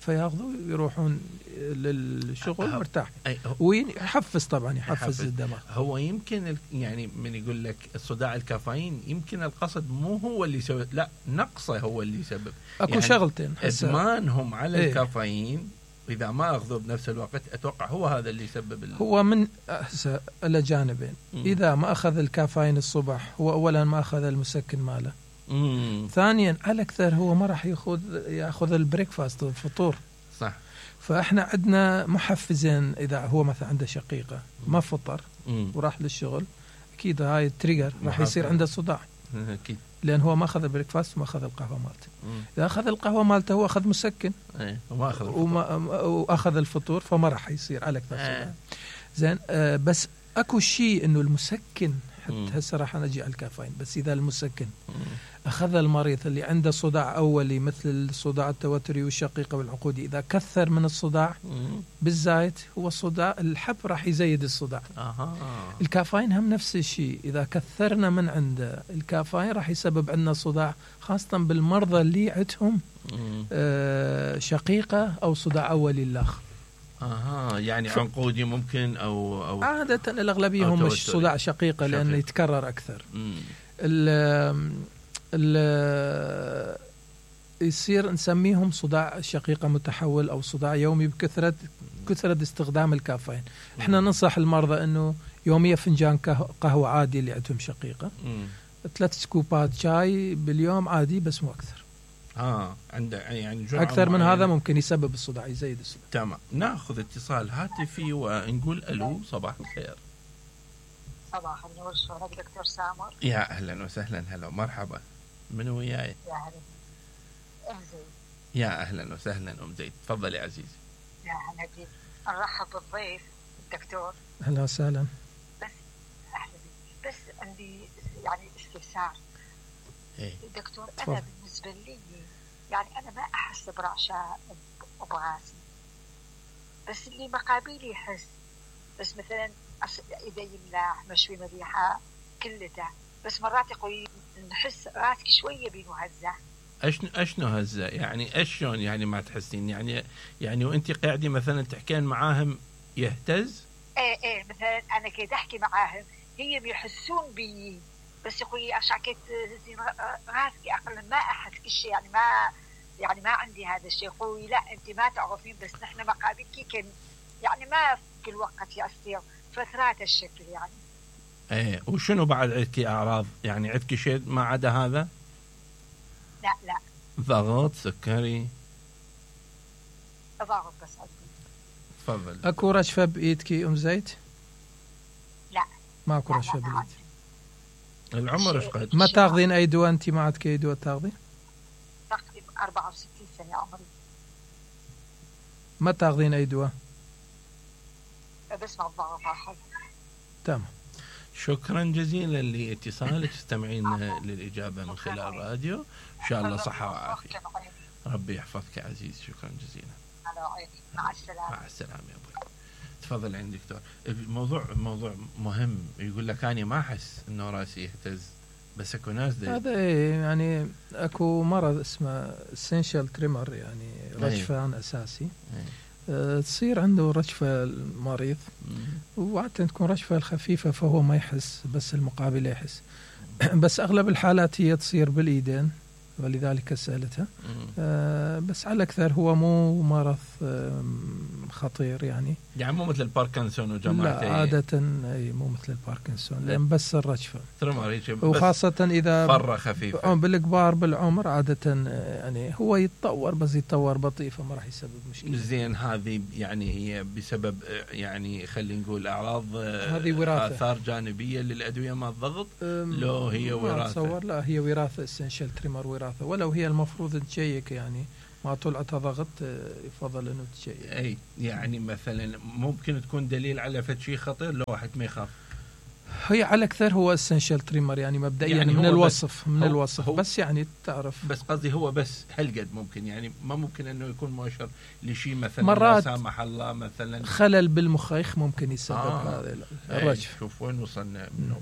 Speaker 4: فياخذوا يروحون للشغل مرتاح ويحفز طبعا يحفز الدماغ.
Speaker 1: هو يمكن يعني من يقول لك الصداع الكافيين يمكن القصد مو هو اللي يسبب، لا نقصه هو اللي يسبب.
Speaker 4: اكو يعني شغلتين
Speaker 1: ادمانهم على الكافيين إذا ما أخذوه بنفس الوقت أتوقع هو هذا اللي يسبب
Speaker 4: هو من إلى جانبين. إذا ما أخذ الكافيين الصبح هو أولا ما أخذ المسكن ماله، ثانيا على أكثر هو ما راح يأخذ البريكفاست الفطور
Speaker 1: صح.
Speaker 4: فإحنا عندنا محفزين. إذا هو مثلا عنده شقيقة ما فطر وراح للشغل أكيد هاي التريجر راح يصير عنده صداع
Speaker 1: أكيد،
Speaker 4: لأن هو ما أخذ البريكفاست وما أخذ القهوة مالته. إذا أخذ القهوة مالته هو أخذ مسكن وأخذ الفطور فما راح يصير على أكثر صداع. زين بس أكو شيء إنه المسكن حتى هسه راح نجي على الكافيين. بس إذا المسكن أخذ المريض اللي عنده صداع أولي مثل الصداع التوتري والشقيقة والعقودي، إذا كثر من الصداع بالزايد هو الصداع الحب راح يزيد الصداع. الكافيين هم نفس الشيء، إذا كثرنا من عنده الكافيين راح يسبب عندنا صداع، خاصة بالمرضى اللي عندهم شقيقة أو صداع أولي الآخر.
Speaker 1: يعني عنقودي ممكن أو
Speaker 4: عادة الأغلبية هم مش صداع شقيقة لأنه يتكرر أكثر. يصير نسميهم صداع شقيقة متحول أو صداع يومي بكثرة استخدام الكافيين. احنا ننصح المرضى أنه يوميا فنجان قهوة عادي اللي عندهم شقيقة، 3 سكوبات شاي باليوم عادي بس مو أكثر.
Speaker 1: عنده يعني
Speaker 4: أكثر من هذا ممكن يسبب الصداع يزيد الصداع.
Speaker 1: تمام. ناخذ اتصال هاتفي ونقول ألو. صباح الخير.
Speaker 5: صباح النور. شلونك دكتور سامر؟
Speaker 1: يا أهلا وسهلا. هلا مرحبا. من وياي؟
Speaker 5: يا هلا أم زيد.
Speaker 1: يا أهلا وسهلا أم زيد. تفضلي عزيزي.
Speaker 5: يا هلا بك. نرحب بالضيف الدكتور.
Speaker 4: أهلا وسهلا.
Speaker 5: بس أهلا بك. بس عندي يعني استفسار. دكتور أنا بالنسبة لي يعني أنا ما أحس برعشة براسي، بس اللي مقابلي يحس. بس مثلا إذا يملاح مشوي مليحة كلته، بس مرات يقول نحس راسك شوية بينه هزة.
Speaker 1: أشنو هزة؟ يعني أشون يعني ما تحسين يعني وأنت قاعدة مثلا تحكين معاهم يهتز؟
Speaker 5: إيه مثلا أنا كده أحكي معاهم هي بيحسون بي، بس يقولي أشعكت راسك أقل ما أحس كشي يعني ما عندي هذا الشيء. يقولي لا أنت ما تعرفين، بس نحن مقابلك كن يعني ما في كل وقت يصير فترات الشكل يعني.
Speaker 1: وشنو بعد عندك أعراض؟ يعني عندك شيء ما عدا هذا؟
Speaker 5: لا
Speaker 1: ضغط سكري؟
Speaker 5: ضغط بس عندي.
Speaker 1: تفضل.
Speaker 4: أكو رشفة بإيدك أم زيد؟
Speaker 5: لا
Speaker 4: ماكو رشفة بإيدك.
Speaker 1: العمر ايش قد؟
Speaker 4: ما تاخذين أي دواء؟ أنت ما عندك أي دواء تاخذين؟
Speaker 5: تقريبا 64 سنة عمري.
Speaker 4: ما تاخذين أي دواء؟
Speaker 5: بس مع الضغط أخذ.
Speaker 4: تمام.
Speaker 1: شكرا جزيلا لاتصالك. تستمعين للإجابة من خلال الراديو. إن شاء الله صحة وعافية. ربي يحفظك عزيز. شكرا جزيلا.
Speaker 5: مع السلامة.
Speaker 1: مع السلامة يا أبوي. تفضل عندك دكتور. الموضوع مهم. يقول لك أنا ما أحس إنه راسي يهتز، بس أكو ناس
Speaker 4: هذا يعني أكو مرض اسمه essential tremor يعني رجفان أساسي. تصير عنده رجفة المريض وعادة تكون رجفة الخفيفة فهو ما يحس بس المقابل يحس. بس أغلب الحالات هي تصير بالإيدين ولذلك سألتها. بس على الأكثر هو مو مرض خطير يعني
Speaker 1: مو مثل الباركنسون وجماعته.
Speaker 4: لا عادة مو مثل الباركنسون، لأن بس الرجفة،
Speaker 1: وخاصة
Speaker 4: إذا
Speaker 1: فرة خفيفة.
Speaker 4: بالكبار بالعمر عادة يعني هو يتطور، بس يتطور بطيء، فما راح يسبب مشكلة.
Speaker 1: زين، هذه يعني هي بسبب يعني خلينا نقول أعراض،
Speaker 4: هذه وراثة،
Speaker 1: آثار جانبية للأدوية مع الضغط؟ لو هي وراثة؟
Speaker 4: أتصور لا، هي وراثة، essential tremor وراثة، ولو هي المفروض تشيك يعني ما طلعت ضغط يفضل انه تشيك.
Speaker 1: اي يعني مثلا ممكن تكون دليل على شيء خطير لو واحد ما يخاف.
Speaker 4: هي على اكثر هو essential tremor يعني مبدئيا يعني من الوصف بس يعني تعرف،
Speaker 1: بس قصدي هو بس هالقد ممكن، يعني ما ممكن انه يكون مؤشر لشيء مثلا
Speaker 4: مرات
Speaker 1: لا سامح الله مثلا
Speaker 4: خلل بالمخيخ ممكن يسبب هذا الرجف.
Speaker 1: شوف وين وصلنا منه.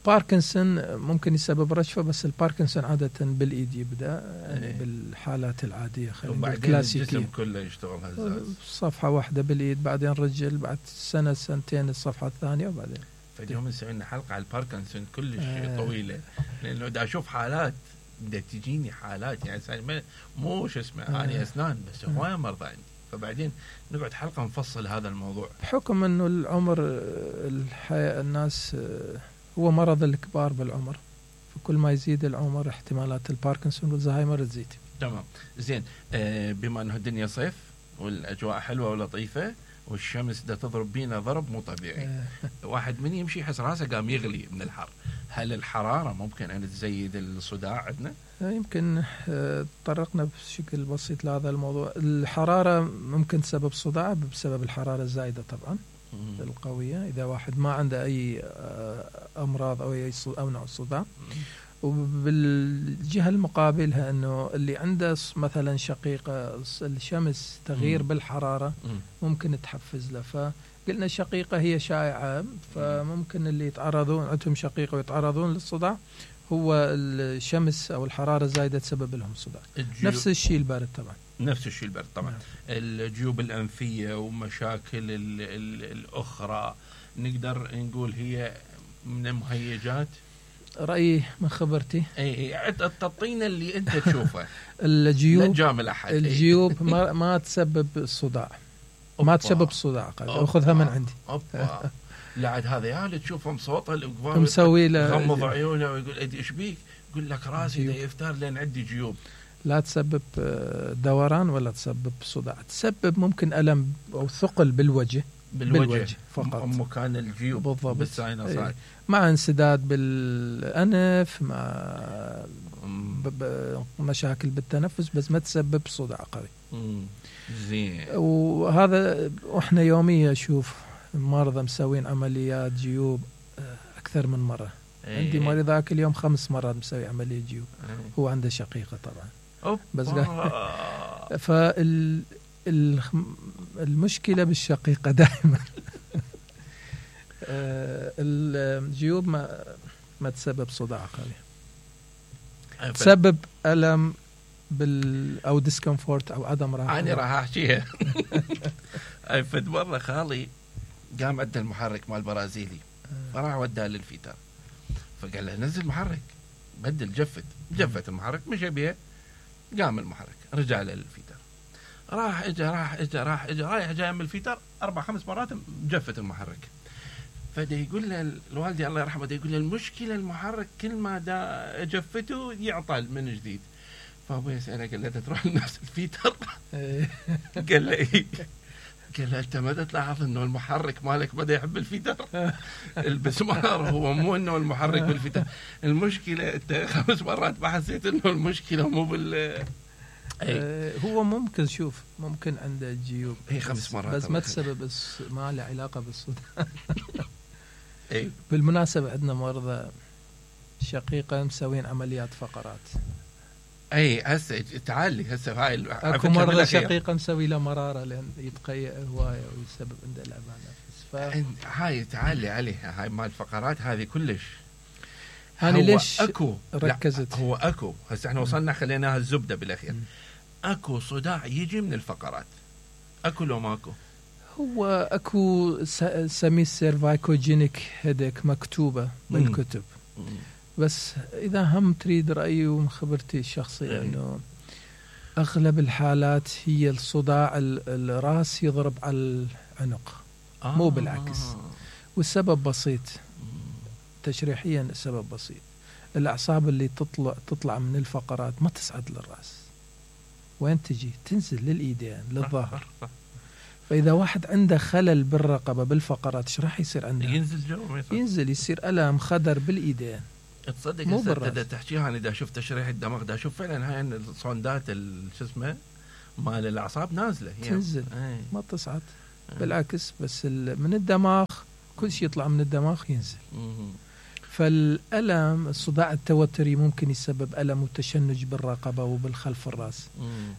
Speaker 4: باركنسون ممكن يسبب رجفة، بس الباركنسون عادة بالإيد يبدأ يعني بالحالات العادية، خلينا
Speaker 1: الكلاسيكية، الجسم كله يشتغل هزاز.
Speaker 4: صفحة واحدة بالإيد، بعدين رجل، بعد سنة سنتين الصفحة الثانية، وبعدين
Speaker 1: فاليوم نسوي لنا حلقة على الباركنسون كلش طويلة، لأنه دا أشوف حالات، دا تجيني حالات يعني مو شو اسمه أنا أسنان بس هواية مرضى عندي، فبعدين نقعد حلقة نفصل هذا الموضوع.
Speaker 4: بحكم أنه العمر الناس هو مرض الكبار بالعمر، فكل ما يزيد العمر احتمالات الباركنسون والزهايمر تزيد.
Speaker 1: تمام. زين، بما أنه الدنيا صيف والأجواء حلوة ولطيفة والشمس دا تضرب بينا ضرب مو طبيعي، واحد من يمشي يحس راسه قام يغلي من الحر. هل الحرارة ممكن أن تزيد الصداع عندنا؟
Speaker 4: يمكن تطرقنا بشكل بسيط لهذا الموضوع. الحرارة ممكن تسبب صداع بسبب الحرارة الزايدة طبعا القوية، إذا واحد ما عنده أي أمراض أو نوع صداع. وبالجهة المقابلها أنه اللي عنده مثلا شقيقة الشمس تغيير بالحرارة ممكن تحفز له. فقلنا الشقيقة هي شائعة، فممكن اللي يتعرضون عندهم شقيقة ويتعرضون للصداع هو الشمس أو الحرارة الزايدة تسبب لهم صداع. نفس الشيء البارد طبعا.
Speaker 1: الجيوب الأنفية ومشاكل الأخرى نقدر نقول هي من المهيجات.
Speaker 4: رأيي من خبرتي.
Speaker 1: تعطينا اللي أنت تشوفه.
Speaker 4: الجيوب ما تسبب الصداع، ما تسبب الصداع. أخذها من عندي.
Speaker 1: لعد هذا يعني تشوفهم صوته
Speaker 4: مسوي له
Speaker 1: غمض عيونه ويقول إيش بيك؟ يقول لك راسي ده يفتر لأن عندي جيوب.
Speaker 4: لا تسبب دوران ولا تسبب صداع، تسبب ممكن ألم أو ثقل بالوجه فقط،
Speaker 1: مكان الجيوب
Speaker 4: بالضبط. مع انسداد بالأنف، مع مشاكل بالتنفس، بس ما تسبب صداع قوي.
Speaker 1: زين.
Speaker 4: وهذا احنا يوميا اشوف مرضى مسوين عمليات جيوب اكثر من مرة. عندي مريض ذاك اليوم 5 مرات مسوي عملية جيوب. هو عنده شقيقة طبعا. بس المشكلة بالشقيقة دائما الجيوب ما تسبب صداع قوي، تسبب ألم أو ديسكمفورت أو عدم راحة.
Speaker 1: أنا راح أحكيها. فد مرة خالي قام عند المحرك مال البرازيلي، فراح وداه للفيتر، فقال له نزل محرك، بدل جفت المحرك، مشى بيه، قام المحرك، رجع له للفيتر، راح اجى رايح جاي من الفيتر 4-5 مرات جفت المحرك. فدا يقول له الوالدي الله يرحمه، دا يقول له المشكلة المحرك كل ما دا جفته يعطل من جديد. فابوي يسأله قال له تروح لنفس الفيتر؟ قال له إيه؟ قال له أنت ما تلاحظ إنه المحرك مالك بدأ يحب الفيتر؟ البسمار هو مو إنه المحرك بالفيتر، المشكلة أنت 5 مرات ما حسيت إنه المشكلة مو بال.
Speaker 4: هو ممكن شوف ممكن عنده جيوب
Speaker 1: هي 5 مرات
Speaker 4: بس ما تسبب ما له علاقة بالصداع. بالمناسبة عندنا مرضى شقيقة مسوين عمليات فقرات.
Speaker 1: هسه تعالي هسه هاي
Speaker 4: اكو مرضى شقيقة مسوي له مرارة لأن يتقيأ هواية ويسبب عنده الأمان نفس.
Speaker 1: هاي تعالي عليها هاي مال الفقرات هذه كلش.
Speaker 4: يعني ليش
Speaker 1: أكو
Speaker 4: ركزت؟
Speaker 1: هو أكو هسه احنا وصلنا خليناها الزبدة بالأخير. أكو صداع يجي من الفقرات، أكو لو ماكو؟
Speaker 4: هو أكو سميه سيرفايكوجينيك هيديك مكتوبة بالكتب. بس إذا هم تريد رأيي ومن خبرتي الشخصية أنه أغلب الحالات هي الصداع الرأس يضرب على العنق مو بالعكس. والسبب بسيط تشريحيا، السبب بسيط. الأعصاب اللي تطلع من الفقرات ما تصعد للرأس، وين تجي؟ تنزل للإيدين للظهر. فإذا واحد عنده خلل بالرقبة بالفقرات ايش راح يصير عنده؟ ينزل يصير ألم خدر بالإيدين.
Speaker 1: تصدق هسه تحكيها أنا دا شفت تشريح الدماغ دا شوف فعلا هاي الصندات شو اسمه مال الأعصاب نازلة
Speaker 4: تنزل ما تصعد بالعكس. بس من الدماغ كل شيء يطلع من الدماغ ينزل. فالألم الصداع التوتري ممكن يسبب ألم وتشنج بالرقبة وبالخلف الرأس.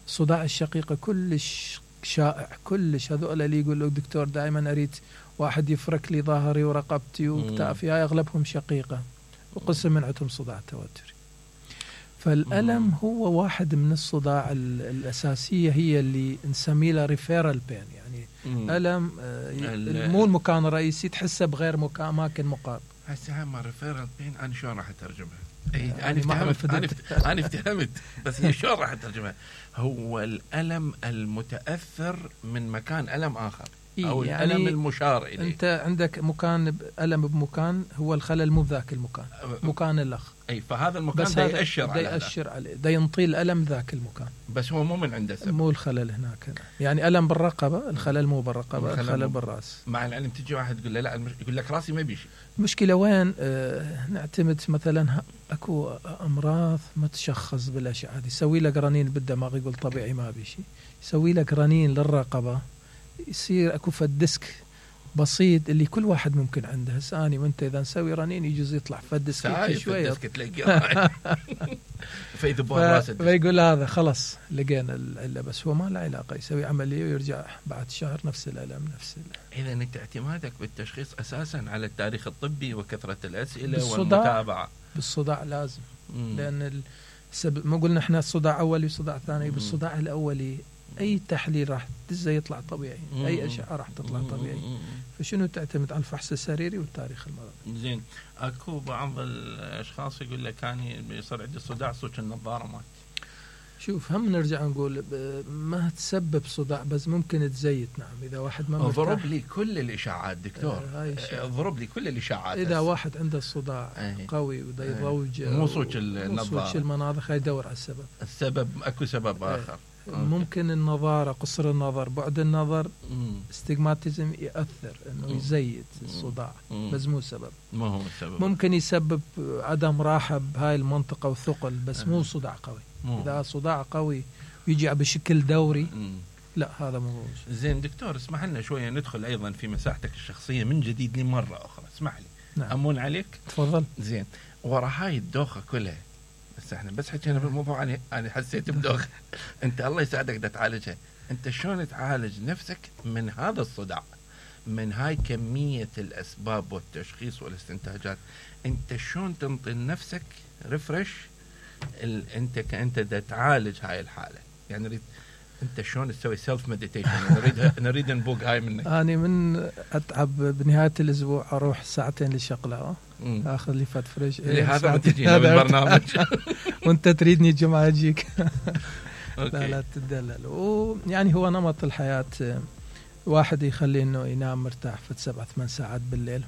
Speaker 4: الصداع الشقيقة كلش شائع كلش. هذول اللي يقول له دكتور دائما أريد واحد يفرك لي ظهري ورقبتي وكتافي، هاي أغلبهم شقيقة وقسم من عندهم صداع توتري. فالألم هو واحد من الصداع الأساسية، هي اللي نسميه له ريفيرال بين، يعني ألم مو المكان الرئيسي تحسه بغير أماكن مقابل.
Speaker 1: هسه ما ريفيرال بين أنا شلون راح أترجمها؟ أنا افتهمت بس هي شلون راح أترجمها؟ هو الألم المتأثر من مكان ألم آخر أو يعني الألم المشار إليه.
Speaker 4: أنت عندك مكان ألم بمكان، هو الخلل مو بذاك المكان، مكان الأخ.
Speaker 1: أي فهذا المكان ده يأشر
Speaker 4: عليه، ده ينطي الألم ذاك المكان،
Speaker 1: بس هو مو من عنده سبب.
Speaker 4: مو الخلل هناك، يعني ألم بالرقبة، الخلل مو بالرقبة، الخلل بالرأس.
Speaker 1: مع العلم تجي واحد تقول له لا يقول لك راسي ما بيشي.
Speaker 4: المشكلة وين؟ نعتمد مثلا أكو أمراض ما تشخص بالأشعة، يسوي لك رنين بالدماغ يقول طبيعي ما بيشي، يسوي لك رنين للرقبة يصير أكو فدسك بسيط اللي كل واحد ممكن عنده. هسه أنا وأنت إذا نسوي رنين يجوز يطلع فدسك شوية فيقول هذا خلص لقينا العلة، بس هو ما له علاقة، يسوي عملية ويرجع بعد شهر نفس الألم نفس
Speaker 1: إذا أنت اعتمادك بالتشخيص أساسا على التاريخ الطبي وكثرة الأسئلة والمتابعة.
Speaker 4: بالصداع لازم لأن ما قلنا إحنا الصداع أولي وصداع ثاني. بالصداع الأولي أي تحليل راح تزي يطلع طبيعي، أي أشعة راح تطلع طبيعي. فشنو تعتمد على الفحص السريري والتاريخ المرضي.
Speaker 1: زين. أكو بعض الأشخاص يقول لك كان يصير عندي صداع صوت النظارة مات.
Speaker 4: شوف هم نرجع نقول ما تسبب صداع بس ممكن تزيد. نعم إذا واحد ما مرتاح.
Speaker 1: ضرب لي كل الإشاعات دكتور. ضرب لي كل الإشاعات.
Speaker 4: إذا واحد عنده صداع قوي وده يضوج
Speaker 1: مو صوت النظارة،
Speaker 4: صوت المناظر، يدور على السبب.
Speaker 1: أكو سبب آخر.
Speaker 4: ممكن النظارة، قصر النظر، بعد النظر، استجماتيزم يأثر انه يزيد الصداع بس مو سبب.
Speaker 1: ما هو السبب.
Speaker 4: ممكن يسبب عدم راحة بهاي المنطقة وثقل بس مو صداع قوي. إذا صداع قوي يجي بشكل دوري لا هذا مو.
Speaker 1: زين دكتور اسمح لنا شوية ندخل أيضا في مساحتك الشخصية من جديد لمرة أخرى، اسمح لي.
Speaker 4: نعم.
Speaker 1: أمون عليك.
Speaker 4: تفضل.
Speaker 1: زين ورا هاي الدوخة كلها بس احنا بس حكينا بالموضوع أنا حسيت بدوخة. أنت الله يساعدك دا تعالجها. أنت شلون تعالج نفسك من هذا الصداع، من هاي كمية الأسباب والتشخيص والاستنتاجات؟ أنت شلون تنطي لنفسك ريفرش؟ أنت كأنت دا تعالج هاي الحالة، يعني نريد أنت شلون تسوي سيلف مديتيشن؟ نريد نبوق هاي منك.
Speaker 4: أنا من أتعب بنهاية الأسبوع أروح ساعتين للشقلة أخذ لي فات فريش.
Speaker 1: لهذا ما تجينا بالبرنامج
Speaker 4: وأنت تريدني الجمعة أجيك. لا تدلل. ويعني هو نمط الحياة واحد يخلي إنه ينام مرتاح في 7-8 ساعات بالليل.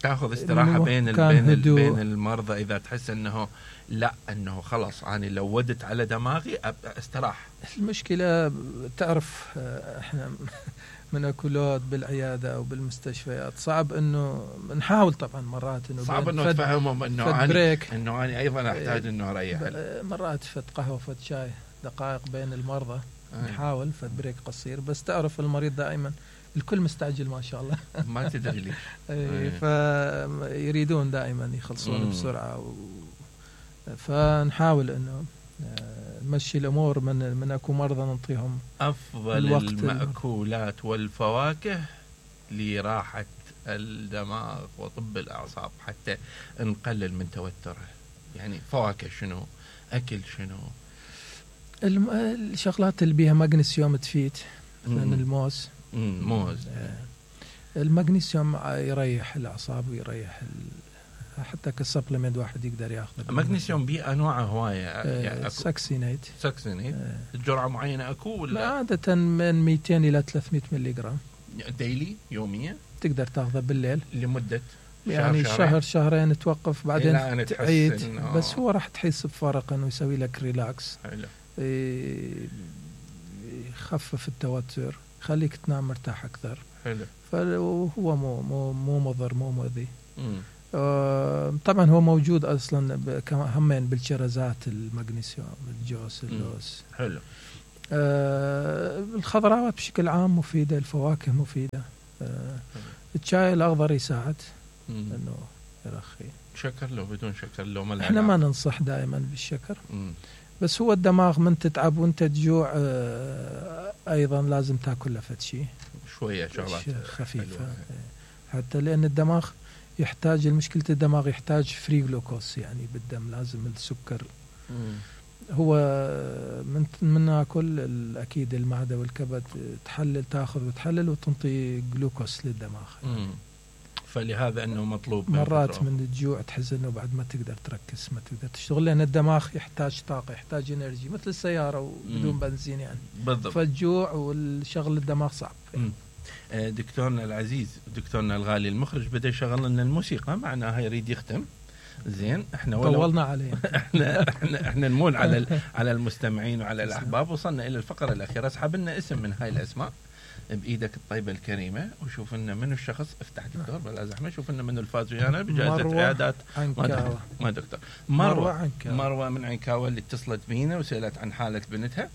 Speaker 1: تأخذ استراحة بين المرضى إذا تحس أنه لا أنه خلاص أنا لو ودت على دماغي استراح.
Speaker 4: المشكلة تعرف إحنا من أكلات بالعيادة أو بالمستشفيات صعب إنه نحاول طبعا مرات إنه
Speaker 1: صعب إنه تفهمهم إنه أنا أيضا أحتاج إنه أريح.
Speaker 4: مرات فت قهوة فت شاي دقائق بين المرضى نحاول فت بريك قصير. بس تعرف المريض دائما الكل مستعجل ما شاء الله
Speaker 1: ما تدري ليش.
Speaker 4: فيريدون دائما يخلصون بسرعة فنحاول إنه نمشي الأمور من أكو مرضى نعطيهم
Speaker 1: أفضل المأكولات والفواكه لراحة الدماغ وطب الأعصاب حتى نقلل من توتره. يعني فواكه شنو؟ أكل شنو؟
Speaker 4: الشغلات اللي بيها مغنيسيوم تفيد من الموز.
Speaker 1: موز.
Speaker 4: المغنيسيوم يريح الأعصاب ويريح حتى كسبلمنت واحد يقدر ياخذه.
Speaker 1: مغنيسيوم بأنواعه هوايه
Speaker 4: يعني ساكسينيت
Speaker 1: الجرعه معينه اكو ولا؟
Speaker 4: لا عاده من 200 الى 300 ملي جرام
Speaker 1: ديلي يوميا،
Speaker 4: تقدر تاخذه بالليل
Speaker 1: لمده
Speaker 4: يعني شهر شهرين توقف بعدين تعيد، بس هو راح تحس بفرق انه يسوي لك ريلاكس، يخفف التوتر، يخليك تنام مرتاح اكثر.
Speaker 1: حلو.
Speaker 4: فهو مو مضر مو مؤذي. طبعا هو موجود اصلا همين بالشرزات، المغنيسيوم، الجوز، اللوز.
Speaker 1: حلو.
Speaker 4: الخضروات بشكل عام مفيده، الفواكه مفيده. الشاي الاخضر يساعد انه يرخي.
Speaker 1: شكر لو بدون شكر لو ما
Speaker 4: احنا ما ننصح دائما بالشكر. بس هو الدماغ من تتعب وانت تجوع ايضا لازم تاكل لفت شيء
Speaker 1: شويه شغلات
Speaker 4: خفيفه حتى لان الدماغ يحتاج، المشكلة الدماغ يحتاج فري جلوكوز يعني بالدم، لازم السكر. هو من ناكل اكيد المعده والكبد تحلل، تاخذ وتحلل وتنطي جلوكوز للدماغ.
Speaker 1: فلهذا انه مطلوب
Speaker 4: مرات من الجوع تحس انه بعد ما تقدر تركز، ما تقدر تشتغل، لان الدماغ يحتاج طاقه، يحتاج انرجي مثل السياره وبدون بنزين يعني.
Speaker 1: بالضبط.
Speaker 4: فالجوع والشغل الدماغ صعب يعني.
Speaker 1: دكتورنا العزيز، دكتورنا الغالي المخرج بدا يشغل لنا الموسيقى، معناها يريد يختم. زين احنا
Speaker 4: طولنا عليه.
Speaker 1: احنا نمول على المستمعين وعلى الاحباب. وصلنا الى الفقره الاخيره. اسحب لنا اسم من هاي الاسماء بايدك الطيبه الكريمه، وشوف لنا منو الشخص. افتح دكتور بلا زحمه. شوف لنا منو الفاز ويانا بجائزه عيادات
Speaker 4: عنكاوة.
Speaker 1: ما دكتور مروه من عنكاوة اللي اتصلت بينا وسالت عن حاله بنتها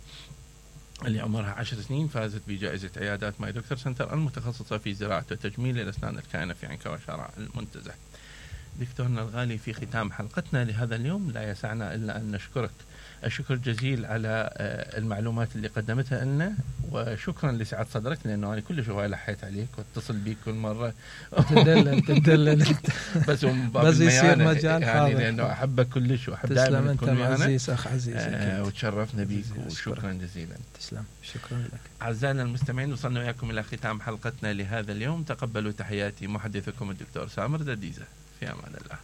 Speaker 1: اللي عمرها 10 سنين، فازت بجائزة عيادات ماي دكتور سنتر المتخصصة في زراعة وتجميل الأسنان الكائنة في عنكاوة شارع المنتزه. دكتورنا الغالي، في ختام حلقتنا لهذا اليوم لا يسعنا إلا أن نشكرك الشكر جزيل على المعلومات اللي قدمتها لنا، وشكرا لسعة صدرك، لأنه أنا كل شوية لحيت عليك واتصل بيك كل مرة.
Speaker 4: تدلل
Speaker 1: بس
Speaker 4: يصير مجال
Speaker 1: يعني لأنه أحبك كلش وأحب دائما تكون ويانا.
Speaker 4: عزيز أخ عزيز.
Speaker 1: وتشرفنا بيك وشكرا جزيلا.
Speaker 4: تسلم. شكرا لك.
Speaker 1: أعزائنا المستمعين، وصلنا وياكم إلى ختام حلقتنا لهذا اليوم. تقبلوا تحياتي محدثكم الدكتور سامر دديزة. في أمان الله.